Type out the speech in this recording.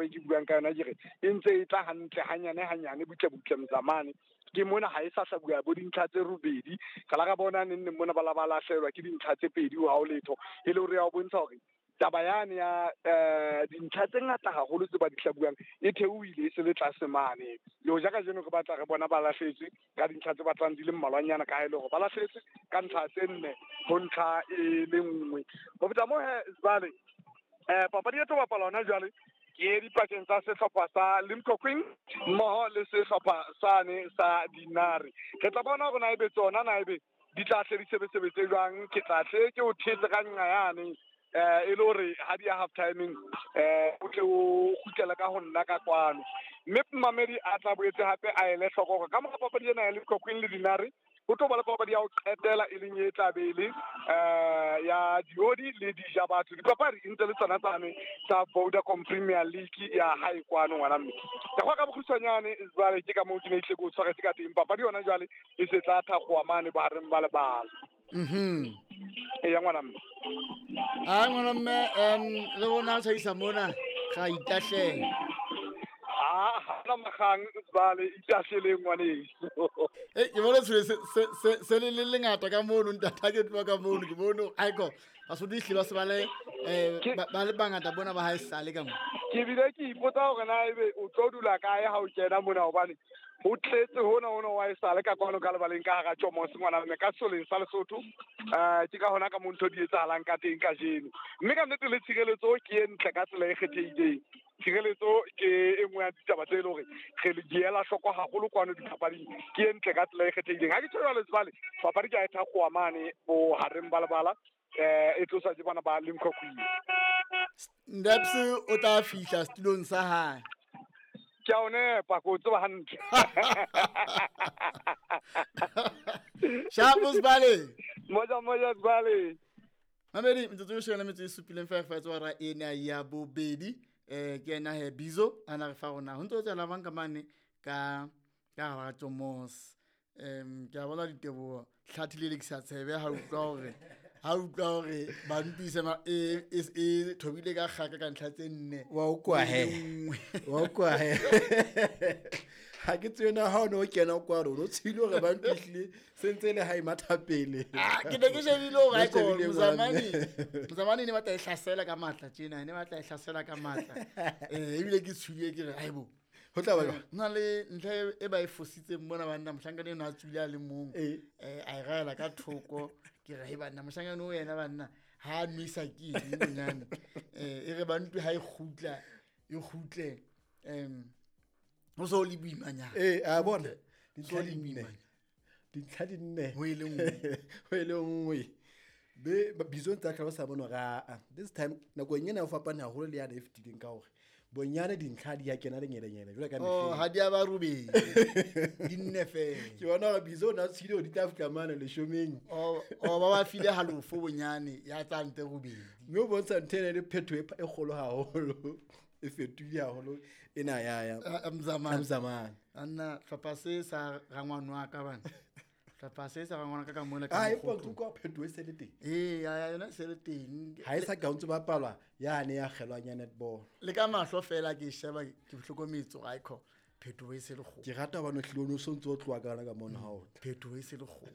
e ke buang ka yona ke re e ntse e tla hantle hanyane hanyane butle butle mzamane. Ke mona ha e sa hlabuwa bo dintlha tse robedi, ka la ka bona neng neng mona ba la ba lahlehelwa ke dintlha tse pedi ha o letho, e le hore ya o bontsha hore taba yane ya dintlha tse ngata haholo tse ba di hlabuwang e theohile e se le tlase mane. Le hoja kajeno re batla re bona ba lahlehetswe ka dintlha tse batlang di le mmalwanyana, ka ha e le hore ba lahlehetswe ka ntlha tse nne ho ntlha e le nngwe. Ho feta moo he jwale papadi e tlo bapala hona jwale ke dipakeng tsa sehlopha sa Limkokwing mmoho le sehlopha sane sa Dinare. Re tla bona hore na ebe tsona na ebe di tla hle di sebesebetse jwang. Ke tla hle ke o thetse ka nqa yane e le hore ha di ya half timing o tle o kgutlele ka ho nna ka kwano. Mme mamedi a tla boetse hape a ele hloko hore ka mora papadi ena ya Limkokwing le Dinare ho tlo ba le papadi ya ho qetela e leng e tla be e le ya Diodi le Dijabatho. Dipapadi e ntse le tsona tsane tsa Vodacom Premier League ya hae kwano ngwana mme. Ka kwa ka bokgutshwanyane jwale ke ka moo ke ne tle ke o tshwaretse ka teng. Papadi yona jwale e se tla thakgowa mane bohareng ba lebala. Eya ngwana mme. A ngwana mme le rona tshwaisa mona ga itahlela. Ah, ha magang jwale itahleleng ngwaneso. Ke bona se le lengata ka mono ntata ke tloha ka mono ke bone aiko Basotho ehlile ba se ba le ba le bangata bona ba hae sale ka mo. Ke bile ke ipotsa hore na ebe o tlo dula kae ha o kena mona hobane ho tletse hona hona wa e sale ka kwano ka lebaleng ka hara Tjomos ngwana mme ka soleng sa Lesotho. Ke ka hona ka mo ntho di etsahalang ka teng kajeno. Mme ka nnete le tshireletso ke e ntle ka tsela e kgethehileng. Tshireletso ke e nngwe ya ditaba tse e leng hore re le diela hloko haholo kwano dipapading, ke e ntle ka tsela e kgethehileng. Ha ke tjho jwalo jwale papadi ke a e thakgowa mane bohareng ba lebala, e tloswa ke bana ba Limkokwing. Ndaps o tla fihla setulong sa hae. Ke a o nepa, ke o tseba hantle. Shapo Sibale. Moja moja Sibale. Mamedi metsotso e shebile metso e supileng fa fa tswa ra ena ya bobedi. Ke ena he Bizo ana re fa rona ho ntse tsela bang ka mane ka ka hara Tjomos. Ke a bona diteboho hlathi le lekisa tshebe ha utlwa hore ba ntwise ma e thobile ka kgaka ka ntlha tse nne. Wa utlwa he. Wa utlwa he. Ha ke tsena ha o no kena kwa rona o tshile hore ba ntwihlile sentse le ha e matha pele. Ke ne ke shebile hore ha ko Mzamani ne batla e hlasela ka matla tjena, ne batla e hlasela ka matla. Ebile ke tshwile ke re haibo. Ho tla ba jwang? Nna le ntlha e ba e fositseng mona banna mohlankana eno a tswile a le mong. A e raela ka thoko ke re banna mohlankana o yena banna ha a nwesa ke eng bonyane. E re ba ntwe ha e kgutla e kgutle ho so le boimanyana. A bona dintlha di nne. Dintlha di nne. Ho e le nngwe. Ho e le nngwe. Be Bizo ntse a hlalosa mono ra this time nakong ena o fapane haholo le yana e fetileng ka hore bonyane dintlha di ya kena lenyelenyele jwalo ka mehleng. Oh, ha di a ba robedi. Di nne fela. Ke bona hore Bizo o na tshile hore di tla fihla mane leshomeng. Oh, ba ba file halofo bonyane ya tla nte robedi. Mme o bontsha ntho ena le phetho e kgolo haholo. E fetohile haholo ena ya Mzamane. Mzamane. Anna hlopha se sa rangwane wa ka bana. Hlopha se sa rangwana ka mona ka Ah, e mokgothu. pontsho kwa phetho e se le teng. Ya yona se le teng. Ha e sa ka ntse ba palwa yane ya kgelwang ya netball. Le ka mahlo fela ke sheba ke hlokometse hore aikho phetho e se le kgolo. Ke rata hobane o hlile o no so ntse o tloha ka yona ka mona ha o tla. Phetho e se le kgolo.